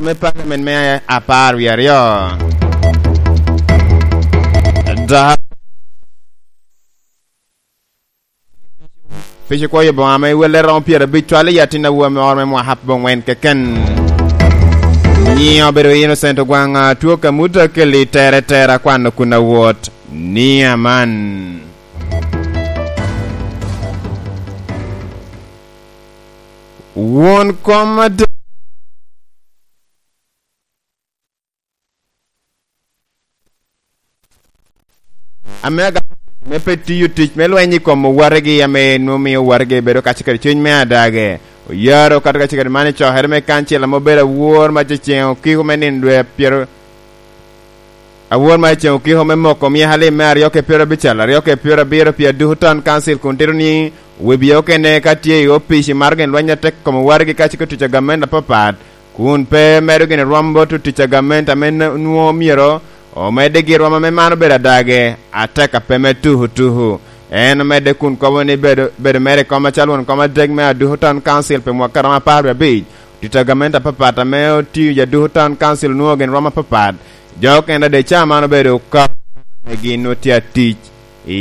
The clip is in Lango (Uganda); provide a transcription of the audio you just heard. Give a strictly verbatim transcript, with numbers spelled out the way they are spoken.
me parliament me apar wie aryo. Daha pici kwoyo boŋa ame welle romo pyerabic cwalo i atin awobi moro me mwaka abongwen keken. Nyiŋe obedo Innocent Ogwaŋ, a, two Kamuta Kelly, tere tera kwano kun awot ni aman. Won kom adek. Ame aga-, me pe tiyo tic me lweny i kom owategi ame nwoŋo mio owategi bedo kacel kede cuny me adage. Oyaro kato kacel kede man i cokere me kancil ame obedo awor ma ceŋ okiko me nino dwe pyero, awor ma ceŋ okiko me moko mia alim me aryo ke pyero abical, aryo ke pyero abiro pi Aduku Town Council kun tito ni webie okene ka tye i opic i maro gin lweny atek kom owategi kacel kede tic a gamente apapat, kun pe medo gin rwom bot otic a gamente ame n-, nwoŋo myero omedde gin rwom ame man obedo adage atek a pe me tuku tuku. En omedde kun kobo ni bedo, bedo mere i kom acalo won kom adek me Aduku Town Council pi mwaka romo apar wie abic, tic a gamente apapat ame otio i Aduku Town Council onwoŋo gin rwom apapat. Jo okene ade ca man obedo ka ame gin nwoŋo tye atic.